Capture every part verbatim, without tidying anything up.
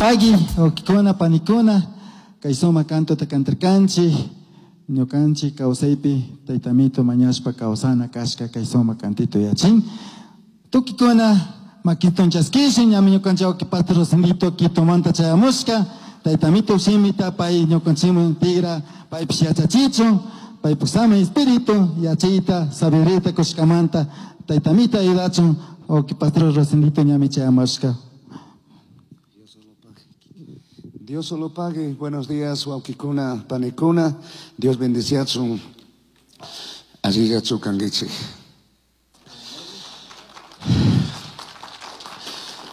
Pagui, wawkikuna, panikuna, kay sumak cantota cantarkanchik, ñukanchik kawsaypi taytamito mañashpa kawsana kashka kay sumak cantito yachin. Tukikuna makiton chaskishin, ñami ñukanchik wawki pastor Rosendito Quitomanta chayamushka, taytamito shimita pay ñukanchikman tigra, paypish yachachichun, paypuk sama espíritu yachayta, sabiduría kushkamanta taytamita ayudachun, wawki pastor Rosendito ñami chayamushka. Dios solo pague. Buenos días, wawkikuna, panikuna. Dios bendiciachun. Allillachu kankichik.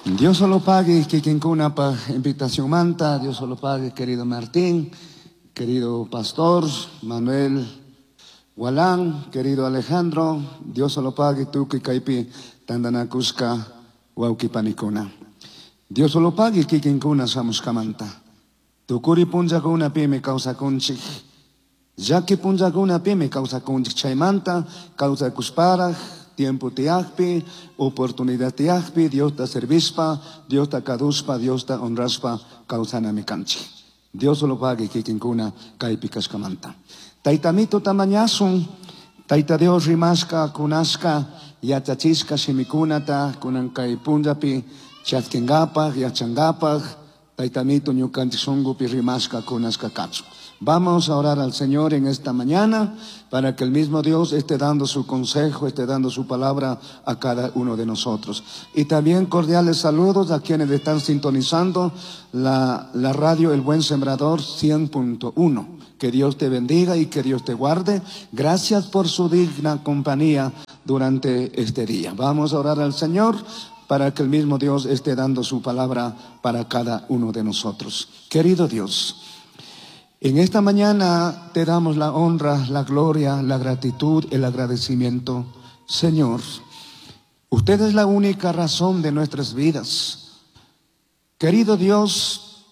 Dios solo pague, kikinkunapaj invitación manta. Dios solo pague, querido Martín, querido pastor Manuel Gualán, querido Alejandro. Dios solo pague, tukuy kaypi tandanakushka wawki panikuna. Dios solo pague, kikinkuna shamushkamanta. Tukuri punllakunapimi kawsakunchik. Llaki punllakunapimi kawsakunchik. Chaymanta kawsakushparaj, tiempo tiyakpi, oportunidad tiyakpi, Diosta servishpa, Diosta kadushpa, Diosta honrashpa kawsanami kanchik. Dios solo pague kikinkuna kaypi kashkamanta. Taytamito tamañasun, Tayta Dios rimashka, kunashka, yachachishka shimikunata, kunan kay punllapi chaskingapak, yachangapak, Taytamito ñukanchik shunkupi rimashka, kunashka kachun. Vamos a orar al Señor en esta mañana para que el mismo Dios esté dando su consejo, esté dando su palabra a cada uno de nosotros. Y también cordiales saludos a quienes están sintonizando la, la radio El Buen Sembrador cien punto uno. Que Dios te bendiga y que Dios te guarde. Gracias por su digna compañía durante este día. Vamos a orar al Señor para que el mismo Dios esté dando su palabra para cada uno de nosotros. Querido Dios, en esta mañana te damos la honra, la gloria, la gratitud, el agradecimiento. Señor, usted es la única razón de nuestras vidas. Querido Dios,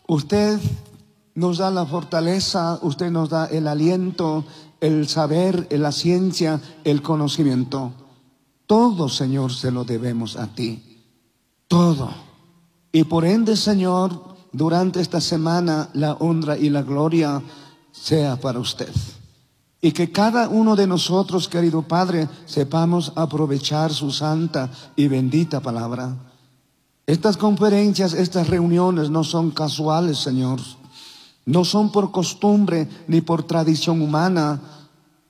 usted nos da la fortaleza, usted nos da el aliento, el saber, la ciencia, el conocimiento. Todo, Señor, se lo debemos a ti. Todo. Y por ende, Señor, durante esta semana la honra y la gloria sea para usted. Y que cada uno de nosotros, querido Padre, sepamos aprovechar su santa y bendita palabra. Estas conferencias, estas reuniones no son casuales, Señor. No son por costumbre ni por tradición humana.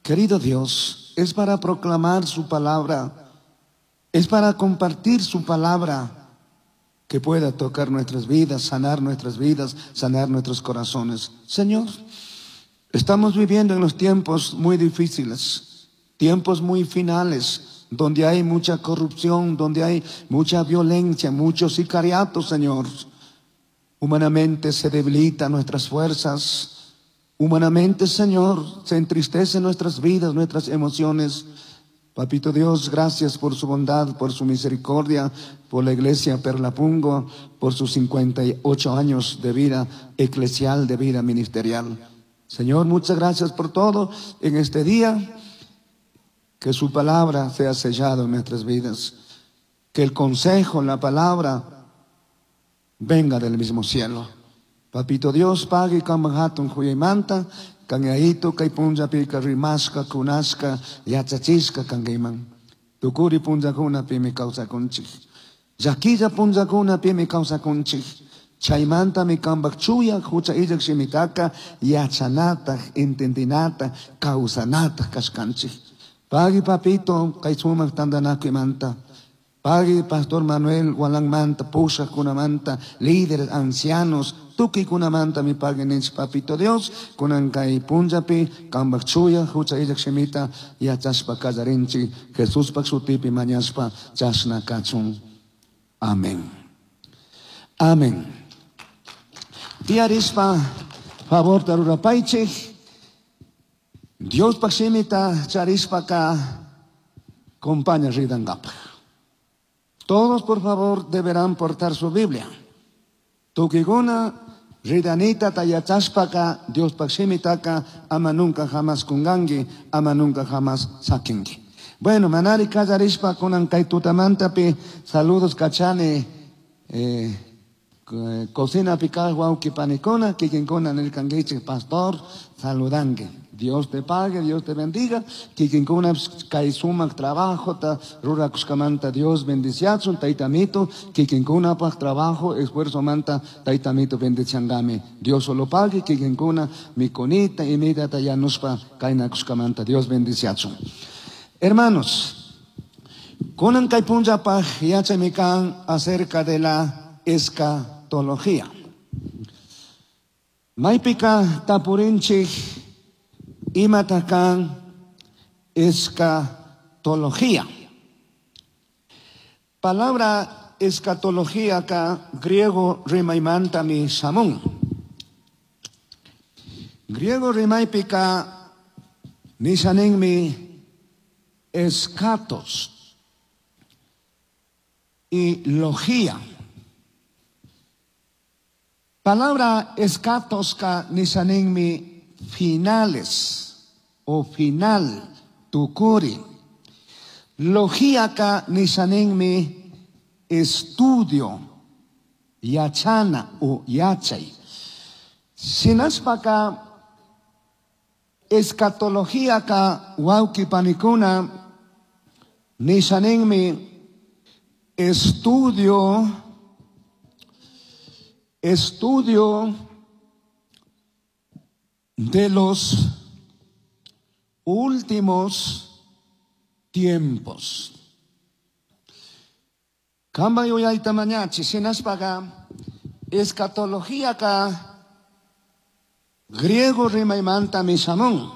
Querido Dios, es para proclamar su palabra. Es para compartir su palabra que pueda tocar nuestras vidas, sanar nuestras vidas, sanar nuestros corazones. Señor, estamos viviendo en los tiempos muy difíciles, tiempos muy finales, donde hay mucha corrupción, donde hay mucha violencia, mucho sicariato, Señor. Humanamente se debilitan nuestras fuerzas. Humanamente, Señor, se entristecen nuestras vidas, nuestras emociones. Papito Dios, gracias por su bondad, por su misericordia, por la iglesia Perlapungo, por sus cincuenta y ocho años de vida eclesial, de vida ministerial. Señor, muchas gracias por todo en este día. Que su palabra sea sellada en nuestras vidas. Que el consejo, la palabra, venga del mismo cielo. Papito Dios, pague kambahatun huyaymanta, kanyaito kay punllapi rimasqa kunasqa yachachisqa kankiman. Tukuri punllakunapimi kawsakunchik. Llakilla punllakunapimi kawsakunchik. Chaymantami kanpak chuya hucha illak shimitaka yachanataq, entendinataq, kawsanataq kashkanchik. Pagui papito kay sumak tantanakuymanta. Pagui pastor Manuel Gualanmanta, pushaqkunamanta, líderes, ancianos, tukuykunamanta mi pagui ninchik papito Dios, kunan kay punllapi kanpak chuya hucha illak shimita yachashpa kallarinchik, Jesuspak shutipi mañashpa chashna kachun. Amén. Amén. Tiarispa favor tarurapaychik. Diospak shimita charishpaka compaña ridankapaj. Todos, por favor, deberán portar su Biblia. Tukiguna, ridanita tayachashpaka, Diospak shimitaka, ama nunca jamás kungangi, ama nunca jamás sakingi. Bueno, manari kallarishpa kunan kay tutamantapi, saludos kachani, Eh, cocina picar wawqi panikuna, kikinkuna nirkankichik pastor, saludanki. Dios te pague, Dios te bendiga. Kikinkuna kay sumak trabajo ta rurakushkamanta Dios bendiciachun, tayta amito, kikinkunapaj trabajo, esfuerzo manta, tayta amito bendiciangami. Dios solo pague, kikinkuna mikunita, imita yanushpa kaynakushkamanta Dios bendiciachun. Hermanos, kunan kay punllapaj yachaymi kan acerca de la escatología. Maypika tapurinchik imata kan escatología. Palabra escatología ka griego rimaymanta mi shamun. Griego rimaypika nishaninmi escatos y logía. Palabra escatos ka nishaninmi finales o final, tukuri. Logía ka nishaninmi estudio, yachana o yachay. Shinashpaka escatología ka wawqi panikuna nishaninmi estudio, estudio de los últimos tiempos. Kamba yuyayta mañachi, shinashpaka escatología ka griego rimaymanta mishamun.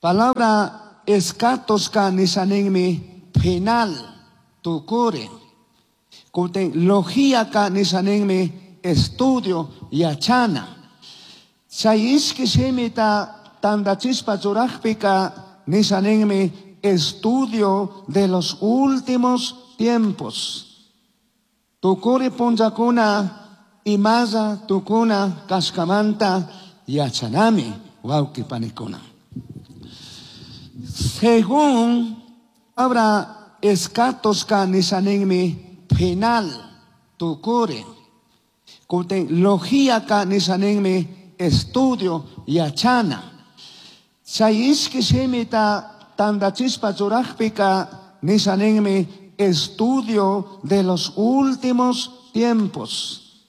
Palabra escatos ka nishaninmi final, tukuri. Kutin logía ka nishaninmi estudio yachana. Chay ishki shimita tandachispa churajpika nishaninmi estudio de los últimos tiempos. Tukuri punllakuna imalla tukuna kashkamanta yachanami wawqi panikuna. Según habrá escatos ka nishaninmi final, tukuri. Kutin logía ka nishaninmi estudio yachana. Chay ishki shimita tandachispa churajpika nishaninmi estudio de los últimos tiempos.